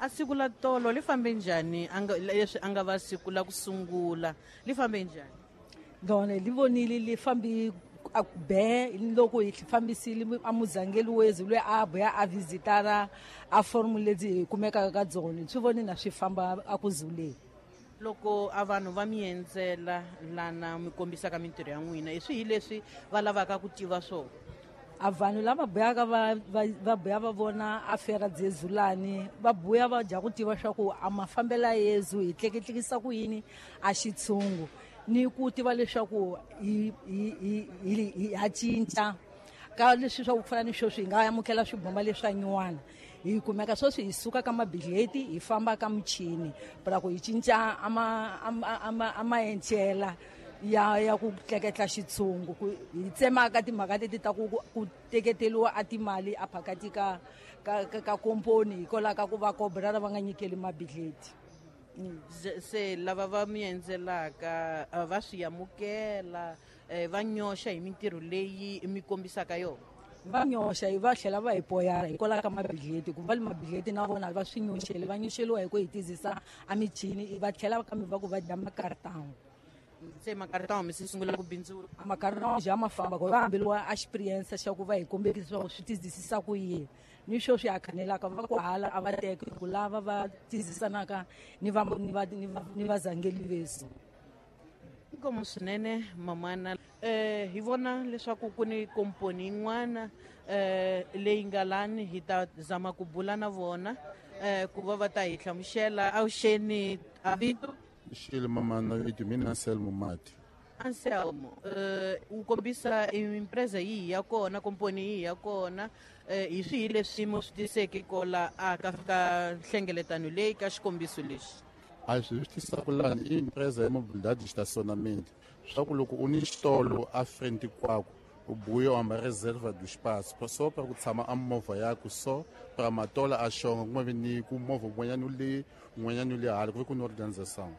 A siku la tolo li fambe njhani, leswi a nga va siku la ku sungula li fambe njhani? Lona li vonile li fambi a ku be loko hi fambisile a muzangeli wezi loyi a buya a visitara a forum ledzi hi kumekaka ka dzona, swi voni na swi famba a ku zuleni. Loko a vanhu va mi endzela lana mi kombisaka mintirho ya n'wina, hi swihi leswi va lavaka ku tiva swona? A vanhu lava buyaka va buya va vona a fera dzezulani, va buya va dya ku tiva swa ku a mafambelo ya Yesu hi tleketlekisa ku yini a xitshungu, ni ku tiva leswaku hi ha cinca ka leswi swa ku fana ni sweswi hi nga amukela swibomba leswa nyuwana. Hi kumeka sweswi hi suka ka mabidleti hi famba ka michini para ku hi cinca a maencela ya ku tleketla xitshungu, ku hi tsemaka timhaka leti ta ku teketeliwa a timali a phakati ka komponi hikwalaho ka ku va kobra va nga nyikeli mabidleti. Se lava va mi endzelaka va swi amukela, va nyoxa hi mintirho leyi mi kombisaka yona? Va nyoxa, va tlhela va hi poyara hikwalaho ka mabidleti, ku va le mabidleti na vona va swi nyoxeli, va nyoxeliwa hi ku hi tizisa a michini, va tlhela kambe va ku va dya makartão. Se makartão mi se sungula ku bindzula? A makartão ja ma famba, ku va hambeliwa a experience xa ku va hi kombekisa leswaku swi tizisisa ku yini. Ni sweswi a khanelaka va ku hala a va teki ku lava va tizisanaka ni vazangeli vesu. Inkomu swinene mamana. Hi vona leswaku ku ni komponi yin'wana leyi nga lani, hi ta zama ku bula na vona ku va va ta hi hlamusela. Avuxeni, a vito? Xile mamana, i mina Anselmo Mati. Anselmo, u kombisa empresa yihi ya kona, komponi yihi ya kona, hi swihi leswi mi swi tiseke kola a ka nhlengeletano leyi ka xikombiso lexi? A swi tisaka lani i empresa ya mobilidade de estacionamento. Swa ku loko u ni xitolo a frente kwako, u buya u hamba reserva do espaço, só pra ku tshama a movha yaku, so pra matola a xonga, ku nga vi ni ku movha wun'wanyana wu le, wun'wanyana wu le hala, ku ve ku ni organisation.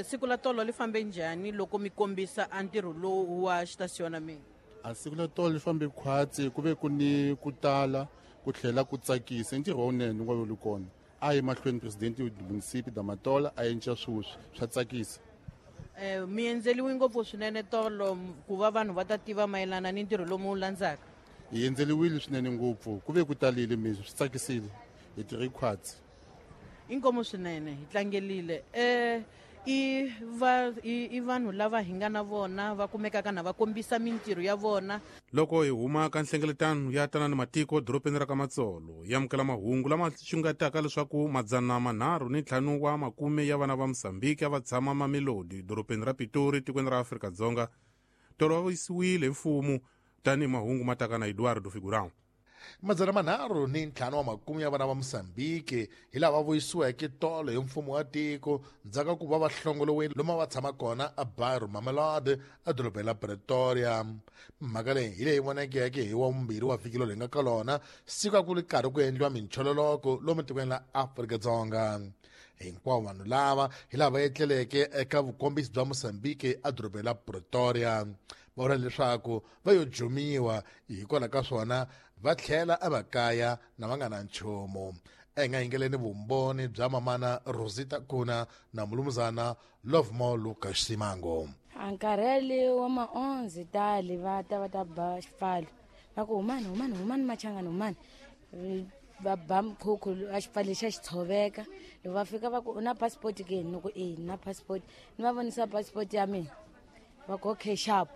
Siku la tolo li fambe njhani loko mi kombisa a ntirho lowu wa xitasionamento? A siku la tolo li fambe khwatsi, ku ve ku ni ku tala, ku tlhela ku tsakisa. I ntirho wunene wa wu kona. A yi mahlweni presidente wa municipio da Matola a endla sweswi swa tsakisa. Mi endzeliwe ngopfu swinene tolo ku va vanhu va ta tiva mayelana ni ntirho lomu wu landzaka? Hi endzeliwile swinene ngopfu, ku ve ku talile mi swi tsakisile, hi tirhe khwatsi. Inkomu swinene, hi tlangelile. I vanhu lava hi nga na vona va kumekaka na va kombisa mintirho ya vona. Loko hi huma ka nhlengeletano ya Tanani Matiko dorobeni ra ka Matsolo, yi amukela mahungu lama xungetaka leswaku madzana manharhu ni ntlhanu wa makume ya vana va Mozambique a va tshama Mamelodi dorobeni ra Pitori tikweni ra Afrika-Dzonga tolo va yisiwile hi mfumo tanihi mahungu ma taka na Eduardo Figurão. Madzana manharhu ni ntlhanu wa makume ya vana va Mozambique hi lava vuyisiweke tolo hi mfumo wa tiko ndzhaku ka ku va va hlongoliwile lomu va tshama kona a Bairro Mamelodi edorobeni la Pretoria. Mhaka leyi hi leyi vonekeke hi wa vumbirhi wa vhiki lowu hi nga ka lona, siku a ku ri karhi ku endliwa minchololoko lomu tikweni la Afrika-Dzonga. Hinkwavo vanhu lava hi lava etleleke eka vukombisi bya Mozambique edorobeni la Pretoria. Va vula leswaku va yo jumiwa hikwalaho ka swona va tlhela emakaya na va nga na nchumu. A hi nga yingeleni vumbhoni bya mamana Rosita Kuna na mulumuzana Lovemore Lucas Simango. A nkarhi yaleyo wa ma-onze tali va ta va ta ba xipfalo. Va ku humani, humani, humani machangani, humani. Va ba mkhukhu a xipfalo lexi a xi tshoveka. Loko va fika va ku u na passport ke? Ni ku e, ni na passport. Ni va vonisa passport ya mina. Va ku okay sharp.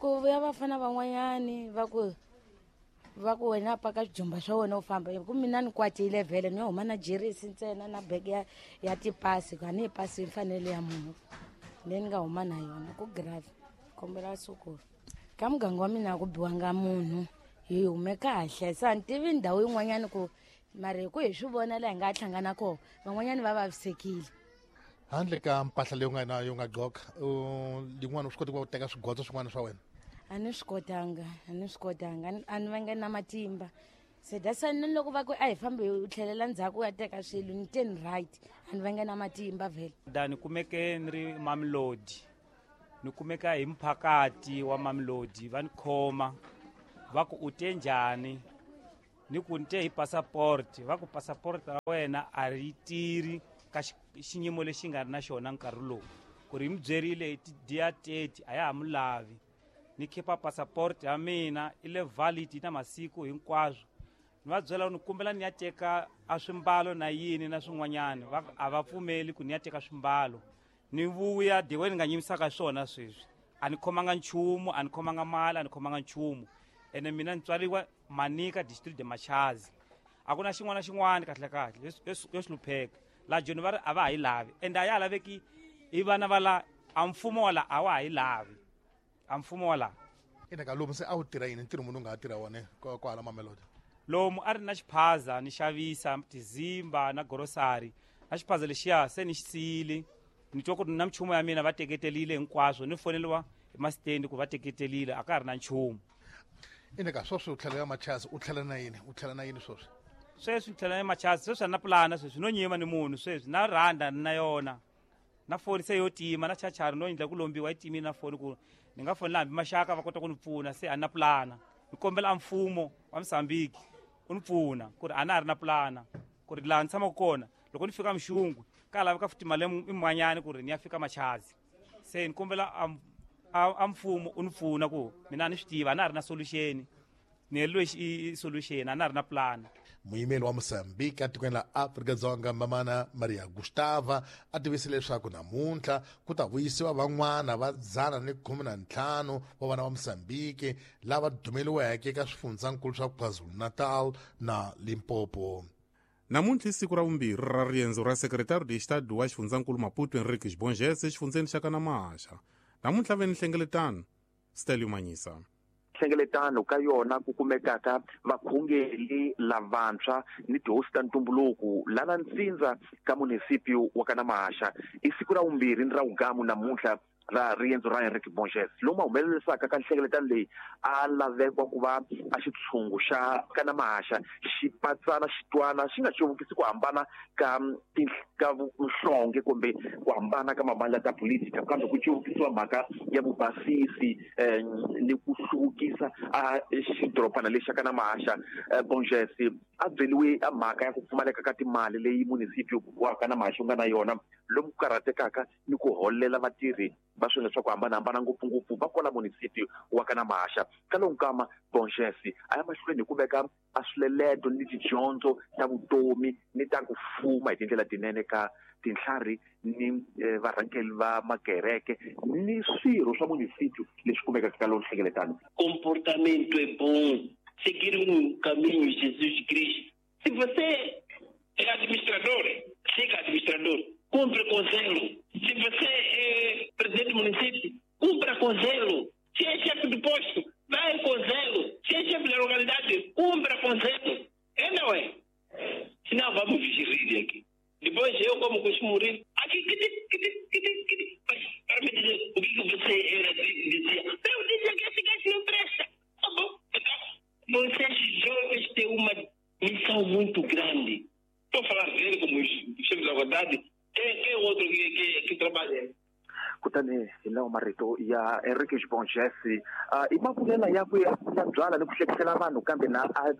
Ku vuya vafana van'wanyani va ku wena paka swijumba swa wena u famba. Hi ku mina ni kwatile vhele, ni yo huma na jeresi ntsena na bag ya tipasi, ku a ni yi pasi yi fanele ya munhu leyi ni nga huma na yona ku grave. Kombela sukulu. Ka muganga wa mina a ku biwanga munhu, hi hume kahle. Se a ni tivi ndhawu yin'wanyani ku mara hi ku hi swi vona laha hi nga hlangana kona, van'wanyani va vavisekile. Handle ka mpahla leyi u nga na yo nga gqoka, yin'wana u swi koti ku va u teka swigotso swin'wana swa wena? A ni swi kotanga, a ni swi kotanga, a ni vanga na matimba. Se that's why ni loko va ku a hi fambi u tlhelela ndzhaku u ya teka swilo, ni te ni right, a ni vanga na matimba vhele. Da ni kumeke ni ri Mamelodi, ni kumeka hi mphakati wa Mamelodi, va ni khoma va ku u te njhani? Ni ku ni te hi passport, va ku passport ra wena a ri tirhi ka xiyimo lexi nga ri na xona nkarhi lowu. Ku ri mi byerile hi ti-dia 30 a ya ha mu lavi. Ni khipa passport ya mina i le valid na masiku hinkwaswo. Ni va byela ni kombela ni ya teka a swimbalo na yini na swin'wanyana, a va pfumeli ku ni ya teka swimbalo. Ni vuya diwe ni nga nyimisaka swona sweswi. A ni khomanga nchumu, a ni khomanga mali, a ni khomanga nchumu. Ene mina ni tswariwa Manica district de Machazi. A ku na xin'wana na xin'wana kahle kahle yo hlupheka. La Joni va ri a va ha yi lavi, ende a ya ha laveki hi vana va la, a mfumo wa la a wa ha yi lavi. A mfumo wa la. Ina ka lomu se a wu tirha yini, ntirho muni u nga ha tirha wona kwala Mamelodi? Lomu a ri na xiphaza ni xavisa tizimba na grocery. Na xiphaza lexiya se ni xi siyile. Ni twa ku ri na minchumu ya mina va teketelile hinkwaswo, ni foneliwa hi masitendi ku va teketelile, a ka ha ri na nchumu. Ina ka sweswi u tlhela ya Machazi, u tlhela na yini? U tlhela na yini sweswi? Sweswi ni tlhela ya Machazi, sweswi a ni na pulana sweswi, no nyima ni munhu sweswi, na rhanda ni na yona. Na foni se yo tima, na chachari no endla ku lombiwa yi timile na foni ku ni nga fonela hambi maxaka va kota ku ni pfuna, se a ni na pulana. Ni kombela a mfumo wa Mozambique u ni pfuna ku ri a na ha ri na pulana, ku ri laha ni tshamaka kona loko ni fika Mxungwe ka laveka futhi mali yin'wanyana ku ri ni ya fika Machazi. Se ni kombela a mfumo u ni pfuna ku mina a ni swi tiva, a na ha ri na solution. Ni heleriwe i solution, a na ha ri na pulana. Muyimeri wa Mozambique etikweni la Afrika-Dzonga Mamana Maria Gustava a tivise leswaku namuntlha ku ta vuyisiwa van'wana va 115 wa vana va Mozambique lava dumeliweke eka swifundzankulu swa KwaZulu-Natal na Limpopo. Namuntlha i siku ra vumbirhi ra riendzo ra Secretario de Estado wa xifundzankulu Maputo Henriques Bongese exifundzeni xa Kanamasha. Namuntlha ve ni nhlengeletano Stelio Manyisa. Nhlengeletano ka yona ku kumekaka vakhongeli lavantshwa ni tihosi ta ntumbuluko lana ntsindza ka munisipio wa Kanamasha. I siku ra vumbirhi ni ra vugamu namuntlha ra riendzo ra Henrique Borges, lomu a humelerisaka ka nhlengeletano leyi a lavekwa ku va a xitshungu xa Kanamasha xi patsana xitwana xi nga cuvukisi ku hambana ka ka nhlonge kumbe ku hambana ka mavandla ta politika, kambe ku cuvukisiwa mhaka ya vubasisi ni ku hluvukisa a xidorobana lexi xa Kanamasha. Borges a byeliwe a mhaka ya ku pfumaleka ka timali leyi munisipio wa Kanamasha wu nga na yona, lomu ku karhatekaka ni ku holela vatirhi va swilo swa ku hambanahambana, ngopfungopfu va kwala munisipio wa Kanamasha. Ka lowu nkama Borges a ya mahlweni hi ku veka a swileleto ni tidyondzo ta vutomi ni ta ku fuma hi tindlela tinene ka tintlhari ni varhangeri va makereke ni swirho swa munisipio leswi kumekaka ka lowu nhlengeletano. Comportamento é bom, seguir um caminho Jesus Cristo. Se você é administrador, siga administrador, cumpre com zelo. Se você é presidente do município, cumpra com zelo. Se é chefe do posto, vai com zelo. Se é chefe da localidade, cumpra com zelo. É, não é? Senão vamos rir aqui. Depois eu, como costumo rir, aqui, que, mas para me dizer o que você era, dizia. Eu dizia que esse gajo não presta. Tá bom. Então, vocês jovens têm uma missão muito grande. Estou a falar dele como chefe da localidade. Quem é o outro que trabalha? Kutani hi lawa marito ya Henriques Borges, i mavulela yakwe ya byala ni ku hlekisela vanhu, kambe na a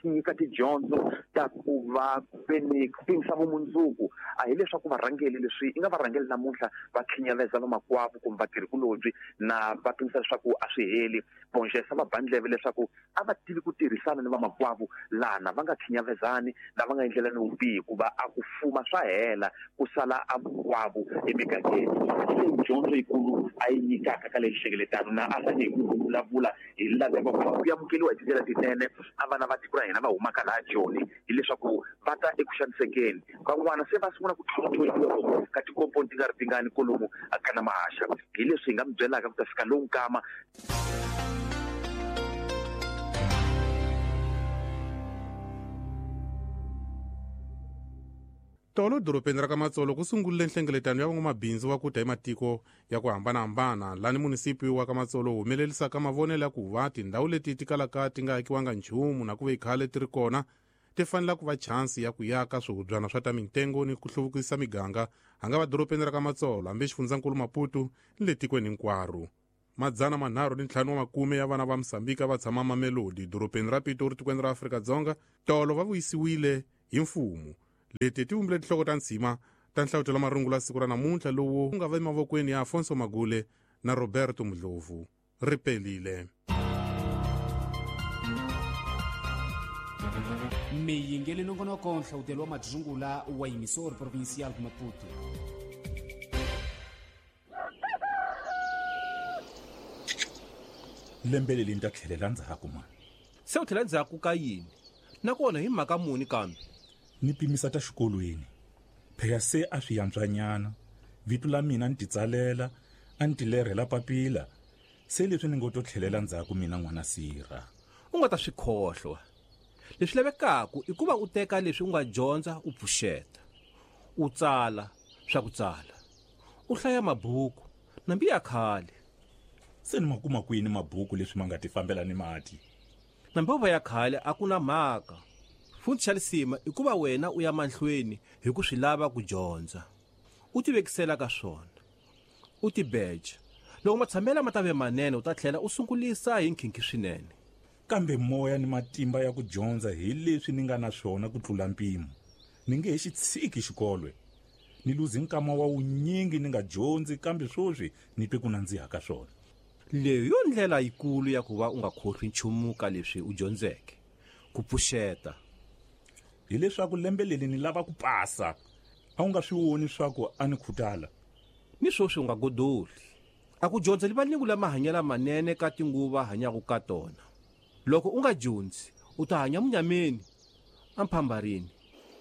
nyika tidyondzo ta ku va veni ku pimisa vumundzuku. A hileswaku varhangeli leswi i nga varhangeli namuntlha va khinyaveza vamakwavo kumbe vatirhikulobye na va pimisa leswaku a swi heli. Borges a va ba ndleve leswaku a va tivi ku tirhisana ni vamakwavo lana va nga khinyavezani na va nga endlelani vubihi, hikuva a ku fuma swa hela ku sala a vukwavo emigangeni. Leyi dyondzo yikulu a yi nyikaka ka leyi nhlengeletano na a rhange hi ku vulavula hi laveko ku va ku amukeriwa hi tindlela tinene a vana va tiko ra hina va humaka laha Joni, hileswaku va ta eku xanisekeni. Van'wana se va sungula ku tlhontlhoriwa ka tikomponi ti nga ri tingani kolomu ka Namahasha. Hi leswi hi nga mi byelaka ku ta fika lowu nkama. Tolo dorobeni ra ka Matsolo ku sungurile nhlengeletano ya van'wamabindzu va ku ta hi matiko ya ku hambanahambana, lani munisipi wa ka Matsolo wu humelerisaka mavonelo ya ku va tindhawu leti ti kalaka ti nga akiwanga nchumu na ku ve khale ti ri kona ti fanela ku va chansi ya ku yaka swihubyana swa ta mintengo ni ku hluvukisa miganga, hanga va dorobeni ra ka Matsolo hambi xifundzankulu Maputo ni le tikweni hinkwaro. 350 wa makume ya vana va Mosambika va tshama Mamelodi dorobeni ra Pitori tikweni ra Afrika-Dzonga tolo va vuyisiwile hi mfumo. Leti ti vumbile tinhloko ta ntshima ta nhlavutelo marungulo ya siku ra namuntlha lowu nga va emavokweni ya Afonso Magule na Roberto Mdlovu. Ri pelile. Miyingeli nongonoko nhlawutelo wa madzungula wa emissor provincial de Maputo. Lembe leri ni ta tlhelela ndzhaku mani. Se u tlhela ndzhaku ka yini? Nakona hi mhaka muni kambe? Ni pimisa ta xikolweni. Phela se a swi yantswanyana. Vito la mina ni titsalela, a ni tilerhela papila. Se leswi ni ngo to tlhelela ndzhaku mina n'wana sirha. U nga ta swi khohlwa. Leswi lavekaka i ku va u teka leswi u nga dyondza u pfuxeta. U tsala swa ku tsala. U hlaya mabuku nambi ya khale. Se ni ma kuma kwini mabuku leswi ma nga ti fambela ni mati? Nambi va ya khale a ku na mhaka. Futhi xa lisima i ku va wena u ya mahlweni hi ku swi lava ku dyondza. U tivekisela ka swona. U tibeja. Loko matshamelo ma ta ve manene u ta tlhela u sungulisa hi nkhinkhi swinene. Kambe moya ni matimba ya ku dyondza hi leswi ni nga na swona ku tlula mpimo. Ni nge he xi tshiki xikolwe. Ni luze nkama wa wunyingi ni nga dyondzi kambe sweswi ni twe ku nandziha ka swona. Leyi yo ndlela yikulu ya ku va u nga khohlwi nchumu ka leswi u dyondzeke. Ku pfuxeta. Hileswaku lembe leri ni lava ku pasa. A wu nga swi voni swa ku a ni khutala. Ni sweswi u nga godoli. A ku dyondza livalingu la mahanyelo manene ka tinguva hanyaka ka tona. Loko u nga dyondzi, u ta hanya munyameni, amphambarini.